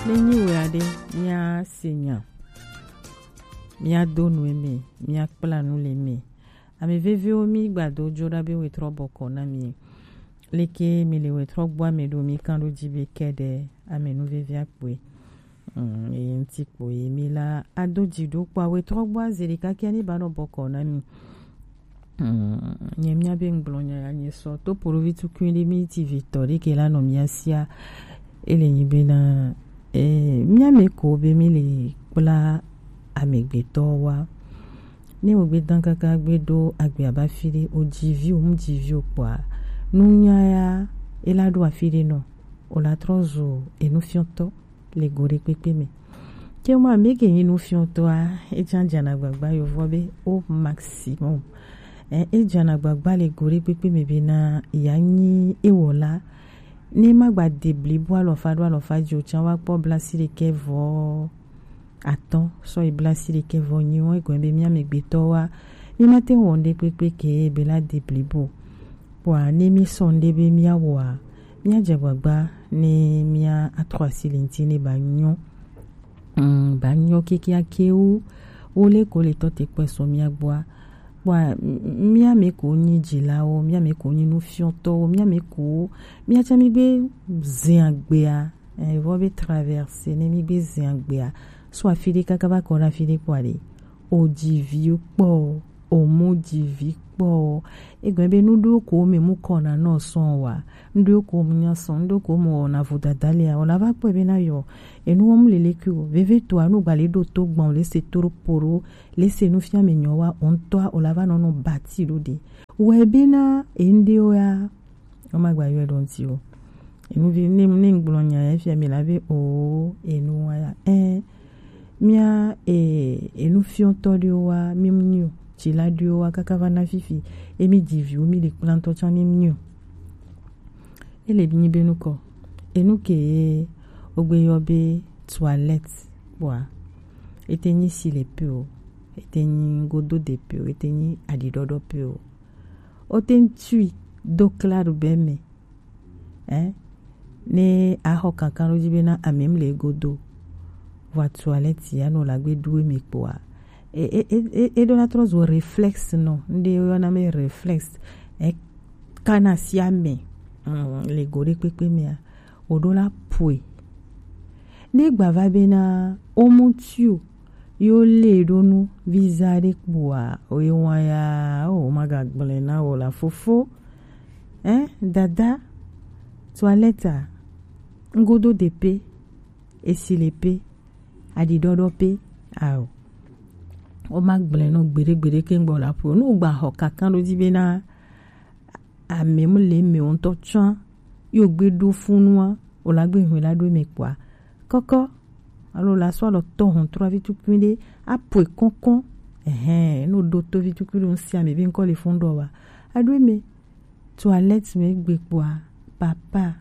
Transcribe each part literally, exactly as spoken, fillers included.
Ne nyi wɛ aɖe, míase nya, míado nu eme, míakpla nu le eme. Ame veviwo, mígbado dzo ɖa be wetrɔ bɔkɔ na mi. Leke mi le wetrɔ gbɔ ame ɖo mi kan ɖo dzi be kɛɖɛ ame nu vevi akpɔe. Mm, eye ŋuti kpo ye mi la ado dzi ɖo kpɔ wetrɔ gbɔ aze ɖeka kia ni ba nɔ bɔkɔ na mi. Mm, nye mía be ŋgblɔ nya ya nye sɔ to polovi tukui ɖe mi ti vitɔ ɖe ke la nɔ mía sia. Ele nyi be na, eh, mía me ko be mi le kpla amegbetɔ wa. Ne wo gbe dan kaka gbe ɖo agbe aba fi ɖe, o dzi vi, o mu dzi vi o kpɔa, nunya ya, e la ɖo afi ɖe nɔ, o la trɔ zu enufiɔtɔ le go ɖe kpekpe me. Ke mɔ ame ke nyi nufiɔtɔa, e jan jana gbagba yovɔ be au maximum. Eh, e jana gbagba le go ɖe kpekpe me be na ya nyi ewɔla. Ne ma gba de blibo alɔfa ɖo alɔfa dzi o can wa kpɔ blasi ɖekɛ vɔ atɔ̃ sɔ yi blasi ɖekɛ vɔ nyi wɔn egɔn be mía megbetɔ wa, mí ma te wɔn ɖe kpekpe ke be la de blibo. Kpɔa ne mí sɔ ŋɖe be mía wɔa, mía dze agbagba ne mía atrɔ asi le ŋti ne ba nyɔ. Mm, ba nyɔ kekeake wu wo le ko le tɔ te kpɛ sɔ mía gbɔa. Kpɔa, m-, mía me ko nyi dzilawo, mía me ko nyi nufiɔtɔwo, mía me ko, mía tsã mí gbe zin agbea, eh, vɔ be traverse ne mí gbe zin agbea. So afi ɖe kaka va kɔ ɖe afi ɖe kpɔa ɖe. O dzi vi kpɔ, o mu dzi vi kpɔ. Egɔn be nu ɖewo ko me mu kɔ na nɔ sɔn wa. Nu ɖewo ko mu nya sɔn, nu ɖewo ko mu wɔna vodada lea, o la va kpɔe be na yɔ. Enu wɔm lele kui o. Veve toa nu gba le ɖo to gbɔn le se toro poro, le se nu fia me nyɔ wa, o ŋutɔa, o la va nɔ nɔ bati ɖo ɖe. Wɛ be na, e ŋɖe o ya, o ma gba yɔe ɖo ŋti o. Enu vi, ne, ne ŋgblɔ nya ya fia mi la be o, enu wa ya. Eh, mía, eh, enufiɔtɔ ɖewo wa, mi mu nyi o. Tsila ɖewo wa, kaka va na fifi. Emi dzi viwo, mi le kpla ŋutɔ tsã, mi mu nyi o. Ele nyi be nukɔ. Enu ke ye wogbe yɔ be toilette kpɔa, ete nyi si le pe o, ete nyi godo de pe o, ete nyi aɖiɖɔɖɔ pe o. Wote ŋu tui do kla ɖo be me. Eh? Ne axɔ kankan ɖo dzi be na ame mu le godo. Vɔ toilette ya no la gbe ɖu eme kpɔa. E, e, e, e, e ɖo na trɔ zo réflexe nɔ. Ŋɖe yɔna me réflexe. E kana si ame. Mm, le go ɖe kpekpe mea. O ɖo la poe. Ne gba va be na o mu tui o. Yo le ɖo nu visa ɖe kpɔa, o ye wa ya, o ma ga gblẽ na o la fofo. Eh, dada, toilette a, ŋgodo de pe, esi le pe, aɖiɖɔɖɔ pe, ao. O ma gblẽ nɔ gbeɖe gbeɖe ke ŋgbɔ la ƒo. Nu gba xɔ kankan ɖo dzi be na ame mu le me ŋutɔ tsã, yo gbe ɖo funua, o la gbe hwe la ɖo me kpɔa. Kɔkɔ, alo la sɔ alɔ tɔ hɔn trɔ avi tukui ɖe, apoe kɔnkɔn. Ehɛn, no ɖo to vi tukui ɖo ŋsi ame be ŋkɔ le fun ɖɔ wa. Aɖo me, toilette me gbe kpɔa, papa,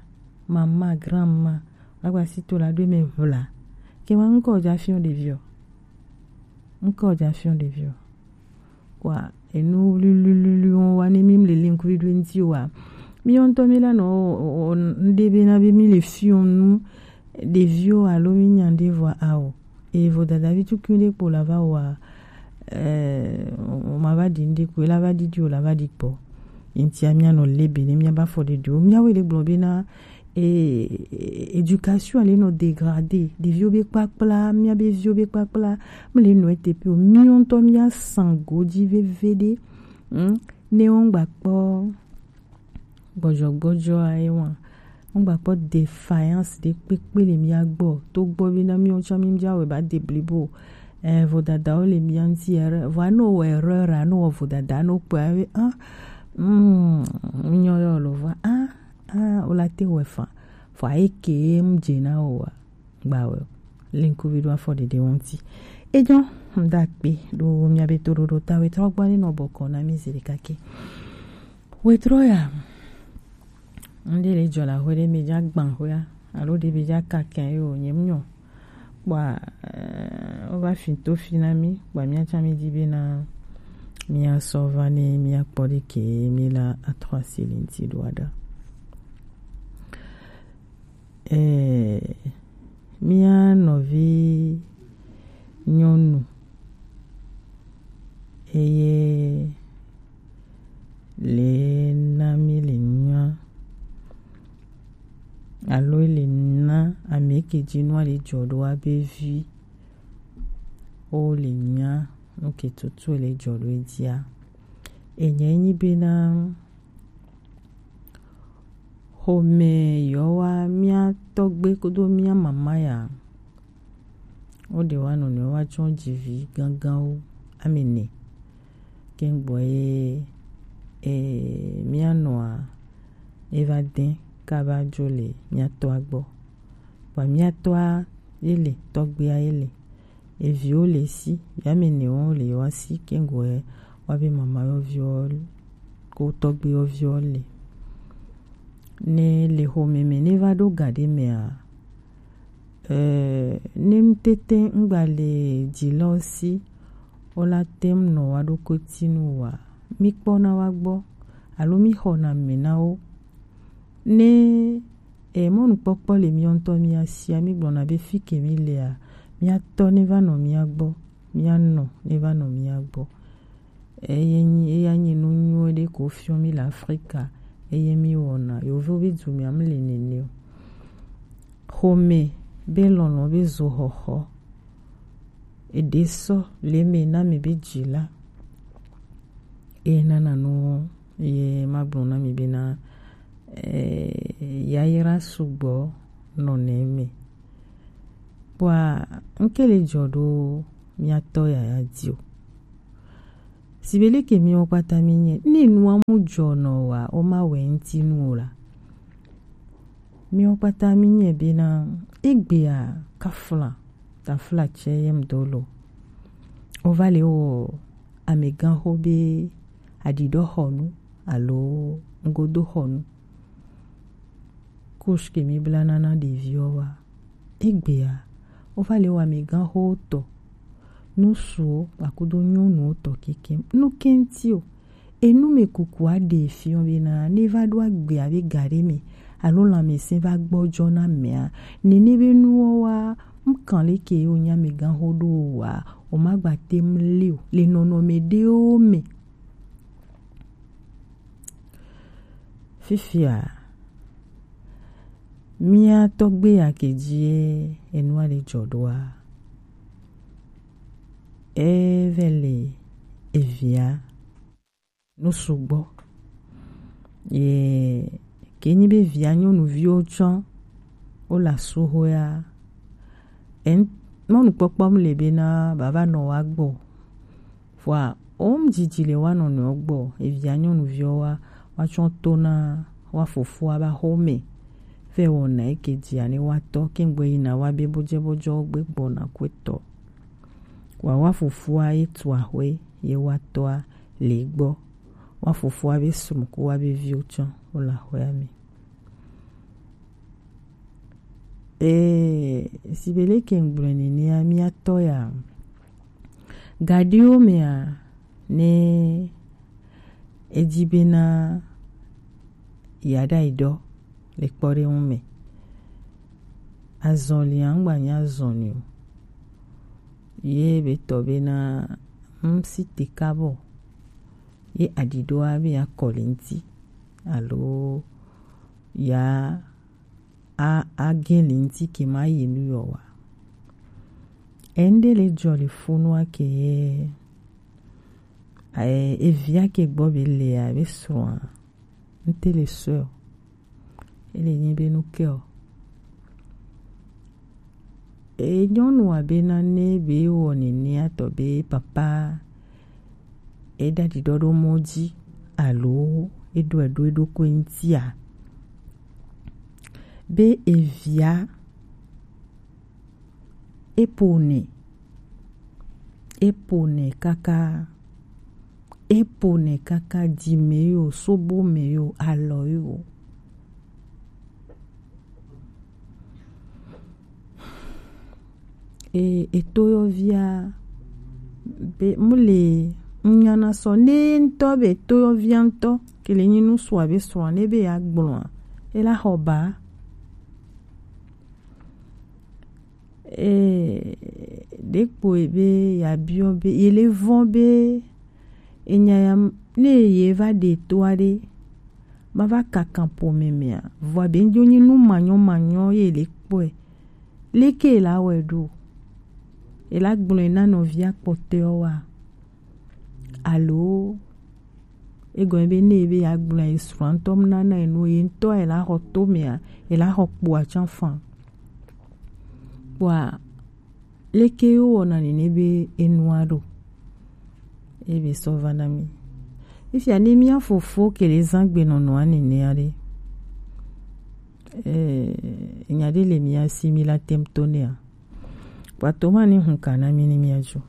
mama, grand-mama, la gba si to la ɖo me hwla. Ke ma ŋkɔ ja fiɔ ɖeviɔ. Ŋkɔ ja fiɔ ɖeviɔ. Kpɔa, enu lulululu wɔn wa ne mi mle link video ŋti wa. Mi ŋutɔ mi la nɔ, o, o, ŋɖe be na be mi le fiɔ nu ɖeviwo alo mi nya ŋɖe vɔ ao. E vodadavi tukui ɖe kpo la va wa, eh, o, o ma va ɖi ŋɖe kpo, e la va ɖiɖi o la va ɖi kpɔ. Ŋtia mia nɔ le be ne mia ba fɔ ɖeɖi o. Mia wo le gblɔ be na, e, e, éducation le nɔ dégradé. Ɖeviwo be kpakpla, mia be viwo be kpakpla, mle nɔ ete pe o. Mi ŋutɔ mia san godzi veve ɖe. Hmm? Ne wo ŋgba kpɔ gbɔdzɔgbɔdzɔ aye wa. Ŋgba kpɔ défaillance ɖe kpekpe le mia gbɔ. To gbɔ be na mi ŋutɔ mi ja wɛ ba de blibo. Eh, vodadawo le mia ŋti erreur. Vɔ no wɔ erreur a, no wɔ vodada no kpɔ abe, ah, mm, nyɔ yɔ lo vɔ, ah, ah, o la te wɛ fa. Vɔ aye ke mu dze na o wa. Gba wɛ. Link video afɔ ɖeɖe wo ŋti. Ejɔ, ŋda kpe ɖo mia be to ɖo ɖo ta wɛ trɔ gbɔ ne nɔ bɔkɔ na mi zi ɖeka ke. Wetrɔ ya. Ŋɖe le dzɔ le axwe ɖe me dza gbã xwea, alo ɖe be dza ka kɛn yo, nye mu nyɔ. Kpɔa, eh, wo va fi to fi na mi, kpɔa mia tsã mi di be na mia sɔ va ne mia kpɔ ɖe ke mi la atrɔ asi le ŋti ɖo aɖa. Eh, Mía nɔvi nyɔnu eye le na mí le nya alo le na ame ke ji nua le jɔ ɖo abe vi wo le nya nu ke tutu le jɔ ɖo edzia. Enye nyi bena xɔme yewoa mía tɔgbe kpodo mía mama ya wo ɖe wa nɔnɔewo wa tsɔ dzivi ganganwo ame ne kɛngbɔ ye e mía nɔa eva dɛn kaba dzo le mía tɔa gbɔ. Kpa mía tɔa ye le tɔgbea ye le eviwo le si yame ne wo le wa si kɛngbɔ ye wa be mama yɔviwo ko tɔgbe yɔviwo le ne le xɔme me ne va ɖo ga ɖe mea eh, ne ŋutete ŋgba le dzilawo si wola tem nɔ wa ɖokui tinu wa mi kpɔna wa gbɔ alo mi xɔna me na wo ne eh, mɔnukpɔkpɔ le miɔ ŋutɔ mia sia mi gblɔna be fi ke mi lea miatɔ ne va nɔ mia gbɔ mianɔ ne va nɔ mia gbɔ. Eye nyi eya nyi nu nyuie ɖe ko fiɔ mi le Afrika eye mi wɔna yovo be du mia mi le nene o. Xɔme be lɔlɔ be zo xɔxɔ eɖe sɔ le me na mi be dzi la eye nana nu ye magblɔ na mi bena eh, yayra sugbɔ nɔ ne me. Kpɔa ŋke le dzɔ ɖo miatɔ yaya di o. Sibe leke miwo kpata mi nye ne nua mu dzɔ nɔ wa o ma wɛ ŋti nu o la. Miwo kpata mi nye bena egbea kafla tafla tsɛ yem do lo. O va le wɔ ameganxo be aɖiɖɔxɔnu alo ŋgodoxɔnu. Kush ke mi bla nana ɖeviwo wa. Egbea, wova le wɔ ameganxowo tɔ, ŋutsuwo kpakudo nyɔnuwo tɔ kekeŋ. Nu ke ŋuti o. Enu me kuku aɖe fiɔ bena ne va ɖo agbe abe ga ɖe me alo lãmesẽ va gbɔdzɔ na mea, nene be nuwo wa ŋkan leke wo nya ameganxo ɖo o wa, o ma gba te ŋu li o le nɔnɔme ɖewo me. Fifia, mía tɔgbe ya ke dzie enua le dzɔ ɖoa, eve le evia nu sugbɔ. Ye ke nyi be via nyɔnuviwo tsɔ wo le asuhoea, en mɔnukpɔkpɔ mu le bena bava nɔ wa gbɔ. Vɔa, wo ŋdzidzi le wa nɔnɔewo gbɔ, evia nyɔnuviwo wa, wa tsɔ to na wa fofoa ba xome. Vɛ wɔna eke dzia ne wa tɔ, kengbe yina wa be bojɛ bojɔ gbe gbɔna kwetɔ. Wa wa fofoa ye tu axwe ye wa tɔa le gbɔ. Wa fofoa be srɔ̃ ko wa be viwo tsɔ wo le axwea me. Ee, sibe leke ŋgblɔe nenea, mía tɔ ya. Gaɖiwo mea, ne edi bena yeaɖayi ɖɔ le kpɔɖeŋu me. Azɔlia ŋgba nye azɔli o. Ye be tɔ bena ŋsi te kabɔ. Ye aɖiɖɔa be yeakɔ le ŋti. Alo ya a, agẽ le ŋti ke ma yi nu yɔ wa. Eŋɖe le dzɔ le funua ke ye, e, evia ke gbɔ be lea, be srɔ̃a, ŋte le sɔe o. Ele nyi be nu ke o. E nyɔnua bena ne be wɔ nenea tɔ be papa e ɖaɖi ɖɔ ɖo mɔ dzi alo e ɖɔe ɖo eɖokui ŋtia, be evia e ƒonɛ, e ƒonɛ kaka, e ƒonɛ kaka dzi me yo, sobo me yo, alɔ yo. E, etoyɔvia be mu le ŋnyana sɔ ne ŋtɔ be etoyɔvia ŋtɔ ke le nyi nu sua be srɔ̃a ne be ya gblɔa e la xɔ ba. Ee, ɖekpo ebe yeabiɔ be yele vɔn be enya ya ne ye va ɖe to aɖe, ma va kaka ƒome mea, vɔa be ŋdzo nyi nu manyɔmanyɔ ye le kpɔe. Leke la wɔe ɖo? Ela gblɔe na nɔvia kpɔtɔewo wa? Alo egɔme be ne be yeagblɔe, ye srɔ̃a ŋutɔ nana ye nu, ye ŋutɔ ela xɔ to mea, ela xɔ kpoa tsã fã? Kpoa leke ye wowɔna nene be enua ɖo? Ebe sɔ va na mi. Efia ne mía fofo ke le zã gbenɔnɔa nenea ɖe, eh, nya ɖe le mía si mi la tem to nea. Kpoa to ma ni hun ka na mi ni mía dzo.